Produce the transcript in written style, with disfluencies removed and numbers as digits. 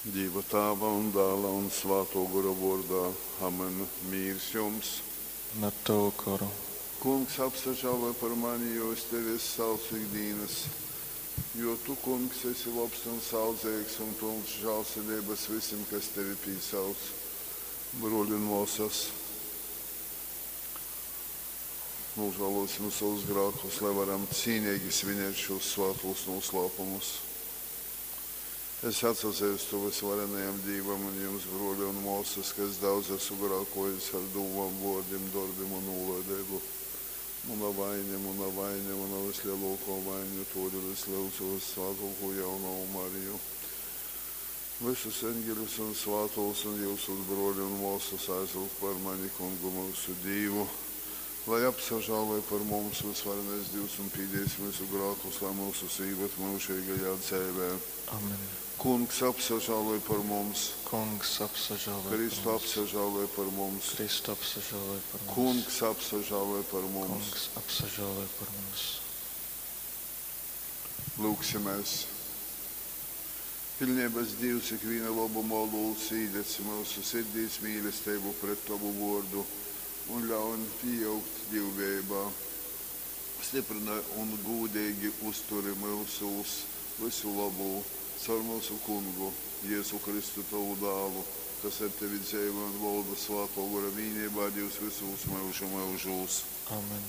Dīva Tāva un Dāla un Svātō Gora vōrdā. Amen. Mīrs jums! Un ar tavu goru. Kungs, apsažāloj par mani, jo uz tevi es saucu ik dīnas. Jo tu, Kungs, esi lobs un saudzeigs un pylns žālsirdeibas vysim, kas tevi pīsauc. Brōli un mōsas, nūžālōsim sovus grākus, lai varam cīneigi svinēt šūs svātūs nūslāpumus. Es atsazeistu vysvarenajam Dīvam un jums, brōli un mōsas, ka es daudz esmu grākōjis ar dūmom, vōrdim, dorbim un nūlaideibu. Muna vaine, muna vaine, muna vyslelōkō vaine, tōdēļ es lyudzu vyssvātōkū jaunovu Mariju, vysus eņgeļus un svātūs un jyusus, brōli un mōsas, aizlyugt par mani Kungu myusu Dīvu, lai apsažāloj par mums vysvarenais Dīvs un pīdīs myusu grākus, lai myusus īvad myužeigajā dzeivē. Amen. Kungs apsažāloj par mums. Kungs apsažāloj par Kristu mums. apsažāloj par mums. Kristu apsažāloj par mums. Kungs apsažāloj par mums. Kungs apsažāloj par mums. Lūgsimies. Pilnības Dievs, ikviena lobuma olūts, īdedz mūsu sirdīs mīlestību pret Tavu vārdu un ļauj pieaugt dievbijībā. Stiprinai un gūdīgi uzturi mūsos visu labu caur mūsu kungu, Jēzu Kristu, Tavu dālu, kas ar tevi dzīvo un valda svāto gora vienībā, Dievs visos mūžu mūžos. Amen.